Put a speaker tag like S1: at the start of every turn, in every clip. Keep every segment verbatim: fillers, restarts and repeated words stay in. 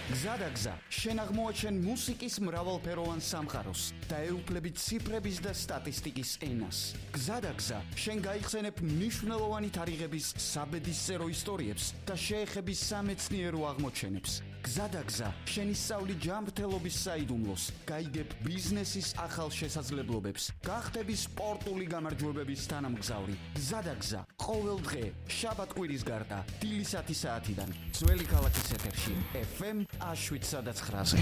S1: გზადაგზა, შენ აღმოაჩენ მუსიკის მრავალფეროვან სამყაროს და ეუფლები ციფრების და სტატისტიკის ენას. გზადაგზა, შენ გაიხსენებ მნიშვნელოვანი თარიღების საბედისწერო ისტორიებს და შეეხები სამეცნიერო აღმოჩენებს. გზადაგზა, შენ ისწავლი ჯანმრთელობის საიდუმლოს, გაიგებ ბიზნესის ახალ შესაძლებლობებს, გახდები სპორტული გამარჯვებების თანამგზავრი. გზადაგზა, ყოველ დღე, შაბათ-კვირის გარდა, დილისათი საათიდან, ძველი ქალაქის ეთერში, ეფ ემ შვიდსა და ცხრაზე.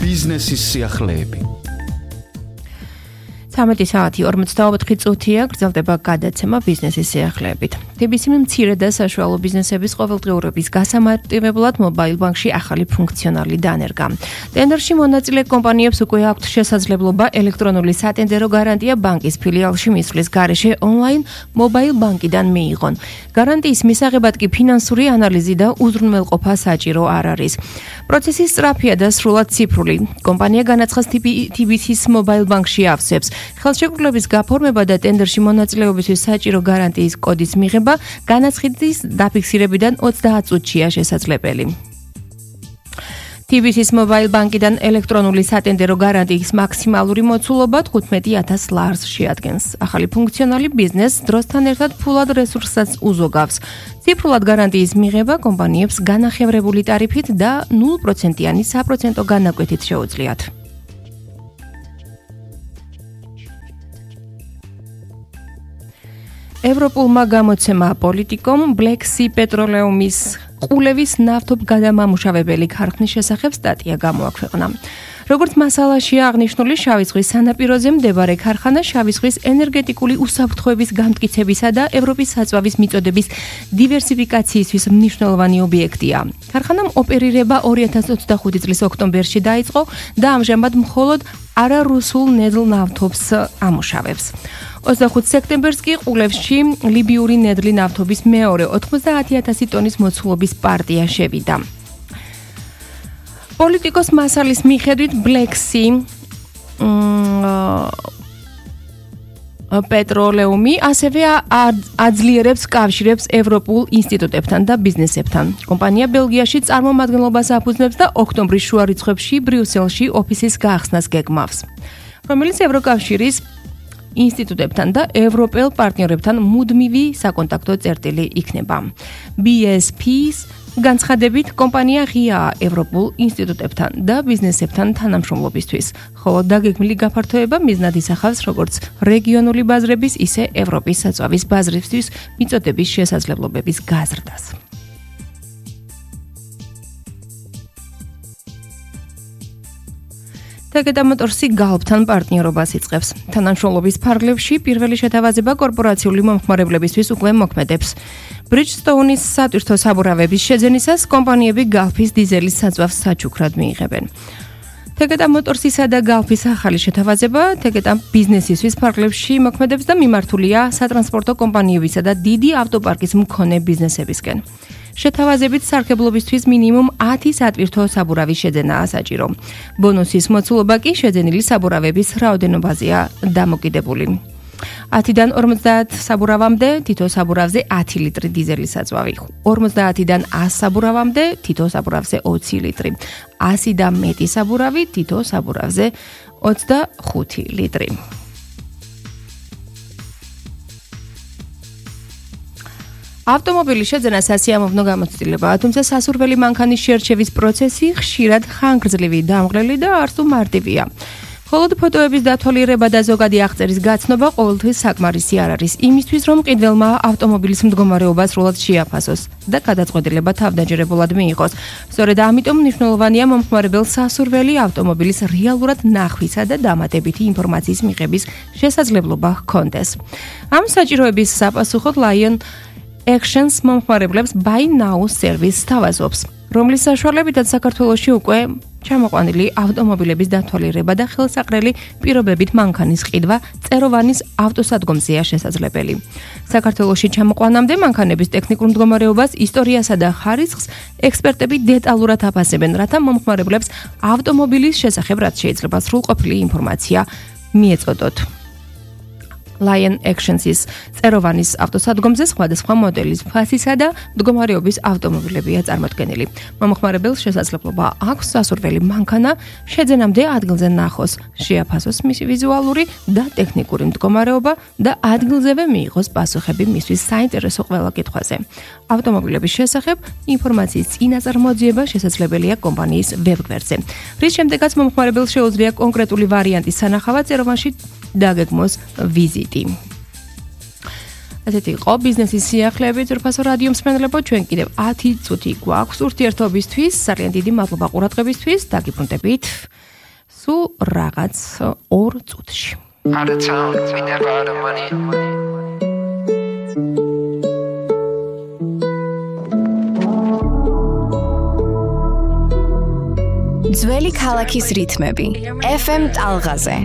S1: ბიზნესის სიახლეები.
S2: ცამეტი საათი ორმოცდაოთხი წუთია, გრძელდება გადაცემა ბიზნესის სიახლეებით. ტი ბი სი მცირე და საშუალო ბიზნესების ყოველდღიურობის გასამარტივებლად მობაილ ბანკში ახალი ფუნქციონალი დანერგა. ტენდერში მონაწილე კომპანიებს უკვე აქვთ შესაძლებლობა ელექტრონული სატენდერო გარანტია ბანკის ფილიალში მისვლის გარეშე ონლაინ მობაილ ბანკიდან მიიღონ. გარანტიის მისაღებად კი ფინანსური ანალიზი და უზრუნველყოფა საჭირო არ არის. პროცესი სწრაფია და სრულად ციფრული. კომპანია განაცხადს ტი ბი სის მობაილ ბანკში ავსებს. ხელშეკრულების გაფორმება და ტენდერში მონაწილეობისთვის საჭირო გარანტიის კოდის მიღება განაცხადის დაფიქსირებიდან ოცდაათ წუთშია შესაძლებელი. ტი ბი სის მობაილ ბანკიდან ელექტრონული სატენდერო გარანტიის მაქსიმალური მოცულობა თხუთმეტი ათას ლარს შეადგენს. ახალი ფუნქციონალი ბიზნესს დროსთან ერთად ფულად რესურსსაც უზოგავს. ციფრულად გარანტიის მიღება კომპანიებს განახევრებული ტარიფით და ნულ პროცენტიანი საპროცენტო განაკვეთით შეუძლიათ. ევროპულმა გამოცემა პოლიტიკომ Black Sea პეტროლეუმის ყულევის ნავთობ გადამამუშავებელი ქარხნის შესახებ სტატია გამოაქვეყნა. როგორც მასალაშია აღნიშნული, შავი ზღვის სანაპიროზე მდებარე ქარხანა შავი ზღვის ენერგეტიკული უსაფრთხოების გამტკიცებისა და ევროპის საწვავის მიწოდების დივერსიფიკაციისთვის მნიშვნელოვანი ობიექტია. ქარხანამ ოპერირება ორი ათას ოცდახუთი წლის ოქტომბერში დაიწყო და ამჟამად მხოლოდ არარუსულ ნედლ ნავთობს ამუშავებს. ოცდახუთი სექტემბერს კი ყულევში ლიბიური ნედლი ნავთობის მეორე ოთხმოცდაათი ათასი ტონის მოცულობის პარტია შევიდა. პოლიტიკოს მასალის მიხედვით Black Sea პეტროლეუმი ასევე აძლიერებს კავშირებს ევროპულ ინსტიტუტებთან და ბიზნესებთან. კომპანია ბელგიაში წარმომადგენლობას აფუძნებს და ოქტომბრის შუა რიცხვებში ბრიუსელში ოფისის გაახსნას გეგმავს, რომელიც ევროკავშირის ინსტიტუტებთან და ევროპელ პარტნიორებთან მუდმივი საკონტაქტო წერტილი იქნება. ბი ეს პის განცხადებით კომპანია ღიაა ევროპულ ინსტიტუტებთან და ბიზნესებთან თანამშრომლობისთვის, ხოლო დაგეგმილი გაფართოება მიზნად ისახავს როგორც რეგიონული ბაზრების, ისე ევროპის საწვავის ბაზრებისთვის მიწოდების შესაძლებლობების გაზრდას. Tegeta Motorsi Galptan პარტნიორობას იწყებს. თანამშრომლობის ფარგლებში პირველი შეთავაზება კორპორაციული მომხმარებლებისთვის უკვე მოქმედებს. Bridgestone-ის სატვირთო საბურავების შეძენისას კომპანიები Galp-ის დიზელის საწვავს საჩუქრად მიიღებენ. Tegeta Motorsისა და Galp-ის ახალი შეთავაზება Tegeta ბიზნესისთვის ფარგლებში მოქმედებს და მიმართულია სატრანსპორტო კომპანიებისა და დიდი ავტოპარკის მქონე ბიზნესებისკენ. შეთავაზებით სარგებლობისთვის მინიმუმ ათი სატვირთო საბურავის შეძენაა საჭირო. ბონუსის მოცულობა კი შეძენილი საბურავების რაოდენობაზეა დამოკიდებული. ათიდან ორმოცდაათ საბურავამდე თითო საბურავზე ათი ლიტრი დიზელის საწვავი. ორმოცდაათიდან ას საბურავამდე თითო საბურავზე ოცი ლიტრი. ასი და მეტი საბურავი თითო საბურავზე ოცდახუთი ლიტრი. ავტომობილის შეძენა სასიამოვნო გამოცდილებაა, თუმცა სასურველი მანქანის შერჩევის პროცესი ხშირად ხანგრძლივი, დამღლელი და არც თუ მარტივია. მხოლოდ ფოტოების დათვალიერება და ზოგადი აღწერის გაცნობა ყოველთვის საკმარისი არ არის, იმისთვის რომ მყიდველმა ავტომობილის მდგომარეობა სრულად შეაფასოს და გადაწყვეტილება თავდაჯერებულად მიიღოს. სწორედ ამიტომ მნიშვნელოვანია მომხმარებელს სასურველი ავტომობილის რეალურად ნახვისა და დამატებითი ინფორმაციის მიღების შესაძლებლობა ჰქონდეს. ამ საჭიროების საპასუხოდ Lion Actions მომხმარებლებს Buy Now სერვისს თავაზობს, რომლის საშუალებითაც საქართველოში უკვე ჩამოყვანილი ავტომობილების დათვალიერება და ხელსაყრელი პირობებით მანქანის ყიდვა წეროვანის ავტოსადგომზეა შესაძლებელი. საქართველოში ჩამოყვანამდე მანქანების ტექნიკურ მდგომარეობას, ისტორიასა და ხარისხს ექსპერტები დეტალურად აფასებენ, რათა მომხმარებლებს ავტომობილის შესახებ რაც შეიძლება სრულყოფილი ინფორმაცია მიეწოდოთ. Lion Actions-ის წეროვანის ავტოსადგომზე სხვადასხვა მოდელის ფასისა და მდგომარეობის ავტომობილებია წარმოდგენილი. მომხმარებელს შესაძლებლობა აქვს სასურველი მანქანა შეძენამდე ადგილზე ნახოს, შეაფასოს მისი ვიზუალური და ტექნიკური მდგომარეობა და ადგილზევე მიიღოს პასუხები მისთვის საინტერესო ყველა კითხვაზე. ავტომობილების შესახებ ინფორმაციის წინაწარმოძიება შესაძლებელია კომპანიის ვებგვერდზე. რის შემდეგაც მომხმარებელს შეუძლია კონკრეტული ვარიანტის სანახავად წეროვანში დაგეგმოს ვიზიტი. ასეთი იყო ბიზნესის სიახლეები ძვირფასო რადიო მსმენელებო, ჩვენ კიდევ ათი წუთი გვაქვს ურთიერთობისთვის, ძალიან დიდი მადლობა ყურადღებისთვის, დაგიბრუნდებით სულ რაღაც ორ წუთში.
S3: Out of town, we never out of money.
S4: ძველი ქალაქის რითმები. ეფ ემ ტალღაზე.